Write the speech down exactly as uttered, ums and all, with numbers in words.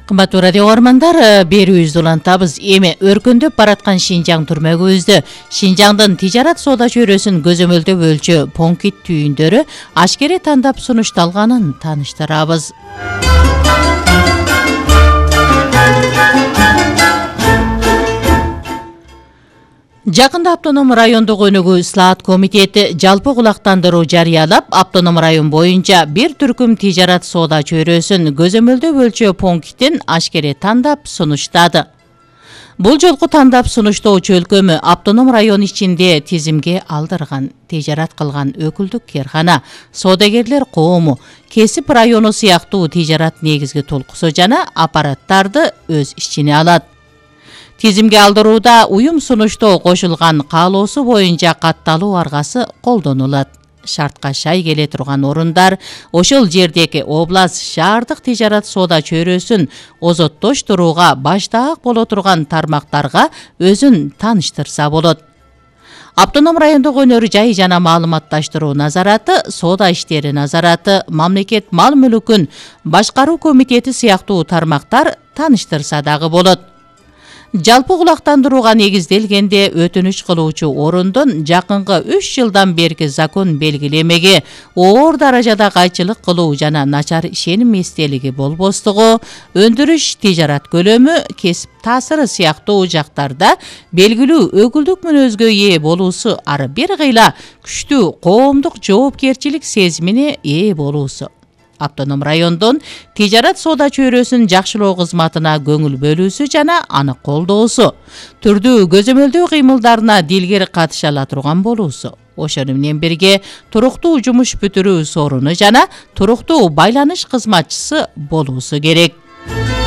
Кымбаттуу радио көрөрмандар, берүүбүздү улантабыз. Эми өркүндөп бараткан Шинжаң түрмөгүбүздө Шинжаңдын тижарат соода чөйрөсүн көзөмөлдөп өлчөө Понкит түйүндөрү ашкере тандап сунушталганын тааныштырабыз. Жакында автоном райондук өнүгүү ислаат комитети жалпы кулактандыруу жарыялап, автоном район боюнча бир түркүм тижарат соода чөйрөсүн көзөмөлдөп өлчөө пунктин ашкере тандап сунуштады. Бул жолку тандап сунуштоочу өлкөмү автоном район ичинде тизимге алдырган, тижарат кылган өкүлдүк керкана, соодагерлер коому, кесип району сыяктуу тижарат негизги толкусу жана аппараттарды өз ичине алат. Тизимге алдырууда уюм сунуштоо кошулган каалоосу боюнча катталуу аргасы колдонулат. Шартка шай келе турган орундар ошол жердеги област, шаардык тижарат соода чөйрөсүн озоттоштурууга баштаак боло турган тармактарга өзүн тааныштырса болот. Автоном райондук өнөр жай жана маалыматташтыруу назараты, соода иштери назараты, мамлекет мал мүлкүн башкаруу комитети сыяктуу тармактар тааныштырса дагы болот. Жалпы кулактандырууга негизделгенде өтүнүч кылуучу орундун жакынкы үч жылдан берки закон белгилемеге оор даражада кайчылык кылуу жана начар ишеним эстелиги болбостугу, өндүрүш, тижарат көлөмү, кесип таасиры сыяктуу жактарда белгилүү өкүлдүк мүнөзгө ээ болуусу ары бир кыйла күчтүү коомдук жоопкерчилик сезимине ээ болуусу. Автоном райондун тижарат соода чөйрөсүн жакшылоо кызматына көңүл бөлүүсү жана аны колдоосу, түрдүү көзөмөлдөө кыймылдарына дилгер катыша ала турган болуусу. Ошону менен бирге туруктуу жумуш бүтүрүү сооруну жана туруктуу байланыш кызматчысы болуусу керек.